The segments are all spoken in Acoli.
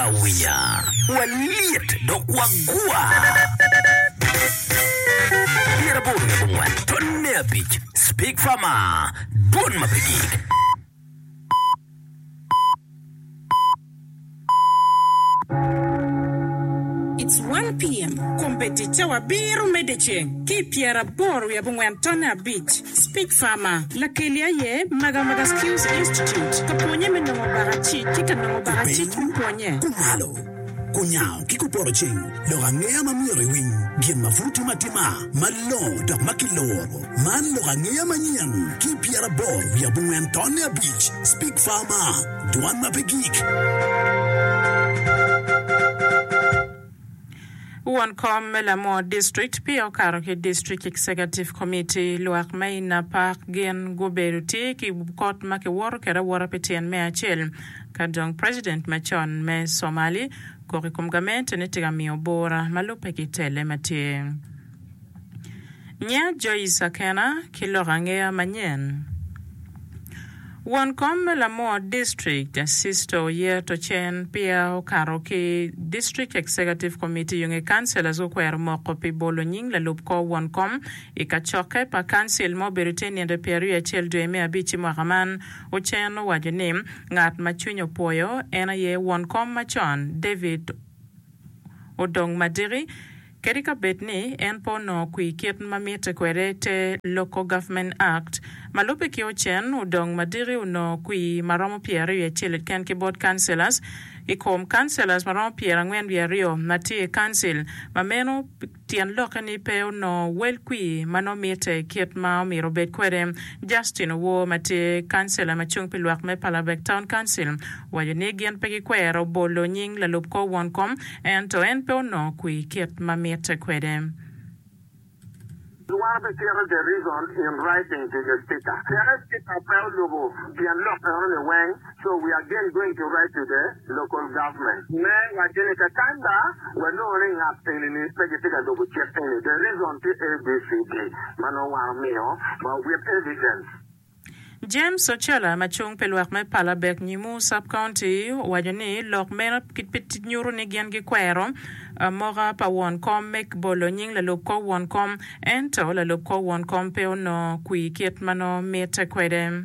awinya, walyet dok wagwa. 84 tonne abic Speak Farmer, Dwon ma pe gik. It's one PM, Kombeddi cawa abiro me dyeceng ki i pyeraboro wiye abongwen tonne abic. Speak Farmer, Lakeli aye Magamaga Skills Institute ka pwonye me nongo bakacic ki ka nongo bakacic me pwonye. Kumalo, kunyango ki kupoto ceng, lok angeya ma myero iwiny, gin ma pud timo atima, malongo dok ma kiluro. Man lok angeya manyen ki i pyeraboro wiye abongwen tonne abic, Speak Farmer, Dwan ma pe gik. Won kom me Lamor District peya okato ki District Executive Committee. Lwak me i Napak gin gubedo tye ki kot ma kiwoto kwede awota pi tyen me acel ka dong President macon me Somali kok i kom gamente ni tye ka miyo bura ma lubbe ki tele ma tye. Nya Joyce Akena ki lok angeya manyen. Won kom me Lamor District, Sisto Oyeto Cen peya okato ki District Executive Committee yonge Councillors gukwero moko pi bolo nying lalub kor won kom i kacokke pa Council ma obedo tye nino 21 dwe me abic i mwaka man. Ocen owaco ni ngat ma cwiny opwoyo en aye won kom macon David Odong Madiki Kadi ka bed ni en pe onongo kwir kit ma mitte kwede te Local Government Act, ma lubbe ki Ocen, Odong Madiki onongo kwir ma romo 21 keken ki bot councillors i kom councillors ma romo 42 ma tye i council, ma meno tyen lokke ni pe onongo wel kwir ma nongo mitte kit ma omyero obed kwede. Justin Owor ma tye councillor ma cung pi lwak me Palabek Town Council owaco ni gin pe gikwero bolo nying lalub kor won kom Ento en pe onongo kwir kit ma mitte kwede. Wan obitito the reason in writing to the speaker. Teke speaker pe olubo tyen lok eno ni weng, so we again going to write to the local government me waco ni kakany ba wanongo ni ngat eni ni pe gitye ka lubo cik eni, the reason tye ABCD ma nongo wan omiyo ma with evidence. James Ochola ma cung pi lwak me Palabek Nyimu Sub-County owaco ni lok meno pe nyuto ni gin gikwero amoka pa won kom me bolo nying lalub kor won kom ento lalub kor won kom pe onongo kwir kit ma nongo mitte kwede.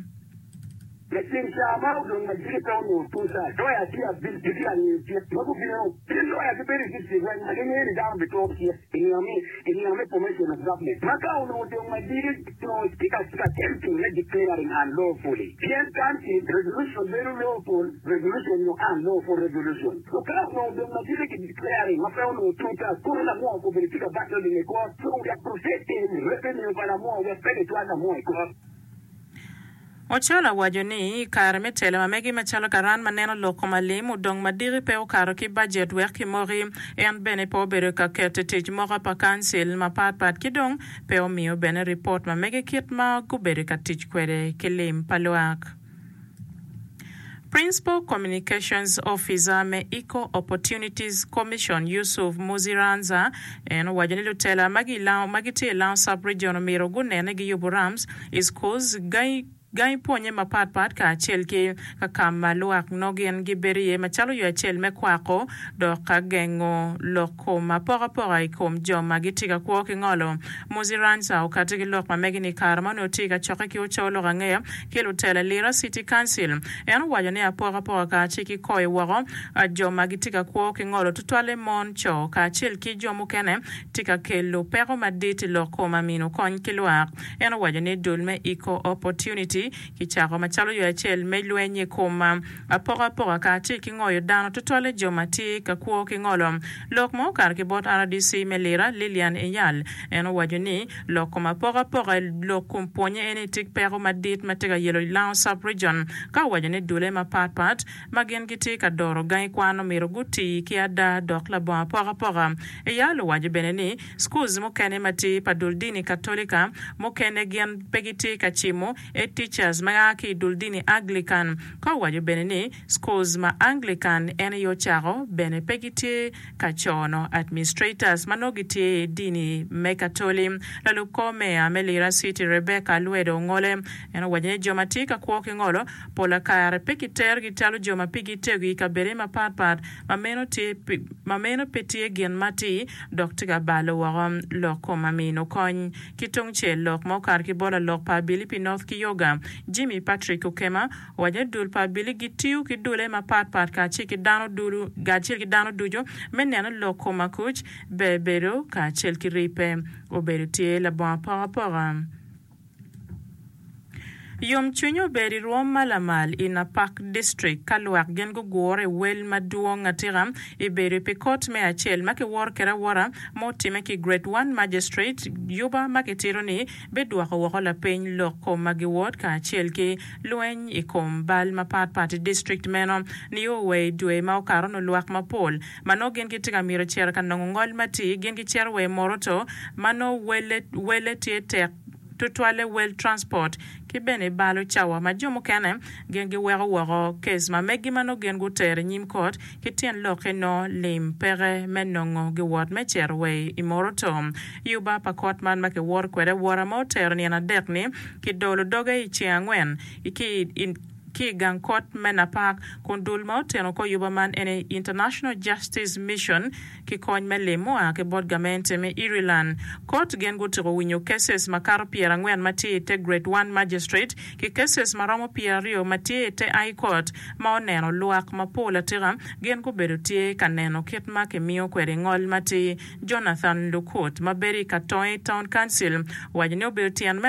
Laceng ca ma odong ma jiki pe onongo tuca, loya tye abic gitye ka ngiyo cik ma gubino. Pien loya gibedo i district weng ma gingeyo ni dano bituro cik i nino me i nino me formation of government. Ma ka onongo odong ma jiki onongo tye ka tye ka attempting me declaring unlawfully pien council resolution bedo lawful resolution nyo unlawful resolution. So ka onongo odong ma jiki ki declaring ma pe onongo tuca kono lamwoo obedo tye ka battling i court so we are protecting revenue pa lamwoo wek pe gicwal lamwoo i court. Ochola owaco ni, i kare me telo ma megi macalo karan ma neno lok kom alim odong madiki pe okato ki bajet wek kimoki. En bene pe obedo ka keto i tic moka pa kancil mapat pat ki dong pe omiyo bene ripot ma mege kit ma gubedo ka tic kwede ki lim pa lwak. Principal Communications Officer me Equal Opportunities Commission Yusuf Muziranza en owaco ni lutela ma gitye i Lango Sub-Region omyero gunene giyubo ramps i schools, gangi pwonye mapat pat kacel ki ka ka ma lwak nongo gin gibedo iye macalo yo acel me kwako dok ka gengo lok kom apokapoka i kom jo ma gitye ka kwo ki ngolo. Muziranza okati ki lok ma megi ni i kare ma onongo tye i kacokke ki oco lok angeya ki lutela Lira City Council, en owaco ni apokapoka kacel ki koyo woko jo ma gitye ka kwo ki ngolo tutwalle mon, co kacel ki jo mukene tye ka kelo peko madit i lok kom amino kony ki lwak. En owaco ni dul me Equal Opportunity kicako macalo yo acel me lweny i kom apokapoka kacel ki ngoyo dano tutwalle jo ma tye ka kwo ki ngolo. Lok ma okato ki bot rdc me Lira, Lilian Eyal, en owaco ni lok kom apokapoka i lok kom pwonye eni tye peko madit ma tye ka yelo Lango Sub-Region ka owaco ni dule mapat pat ma gin gitye ka doro gangi kwan omyero guti ki ada dok labongo apokapoka. Eyal owaco bene ni schools mukene ma tye pa dul dini Katolika mukene gin pe gitye ka cimo etich. Teachers ma a ki i dul dini Anglican ka owaco bene ni schools ma Anglican en aye ocako bene pe gitye ka cono administrators ma nongo gitye i dini me Katoli. Lalub kor meya me Lira City Rebecca Lwedo Ongole en owaco ni jo ma tye ka kwo ki ngolo pola kare pe kiterogi calo jo ma pigi tego i kabede mapat pat ma meno tye ma meno pe tye gin matir dok tye ka balo woko lok kom amino kony. Ki tungcel, lok ma okato ki bot lalok pa abili pi North Kyoga, Jimmy Patrick Okema, owaco ni dul pa abili gitiyo ki dule mapat pat kacel ki dano dulu kacel ki dano ducu me neno lok kom akuc, ber bedo kacel ki ribbe obedo tye labongo apokapoka. Yomcwiny obedo i rwom ma lamal i Napak District ka lwak gin gugure i wel madwong atika i bedo pi kot me acel ma kiworo kwede awora ma otimme ki Grade One Magistrate Yuba ma kitito ni bidwoko woko lapiny lok kom ma giwot kacel ki lweny i kom bal mapat pat i district meno nio wa i dwe ma okato nu lwak mapol ma nongo gin gitye ka mito cito ka nongo ngol matir gin gicito wa i Moroto ma nongo wele tye tek tutwalle wel transport ki bene balo cawa ma jo mukene gin giweko woko kes ma megi ma nongo gin gutero i nyim kot ki tyen lokke nongo lim peke me nongo giwot me cito wa i Moroto. Yuba pa kot man ma kiwoto kwede awota ma otero nino adek ni kidolo doge i ceng angwen ki i ki i gang kot me Napak kun dul ma oteno kor yuba man ene International Justice Mission ki kony me lim mua ki bot gamente me Ireland. Kot gin gutyeko winyo cases makato 40 ma tye i te Grade One Magistrate ki cases ma romo 20 ma tye i te High Court ma oneno lwak mapol atika gin gubedo tye ka neno kit ma kimiyo kwede ngol matir. Jonathan Lukut ma bedo i Katoyi Town Council owaco ni obedo tyen me.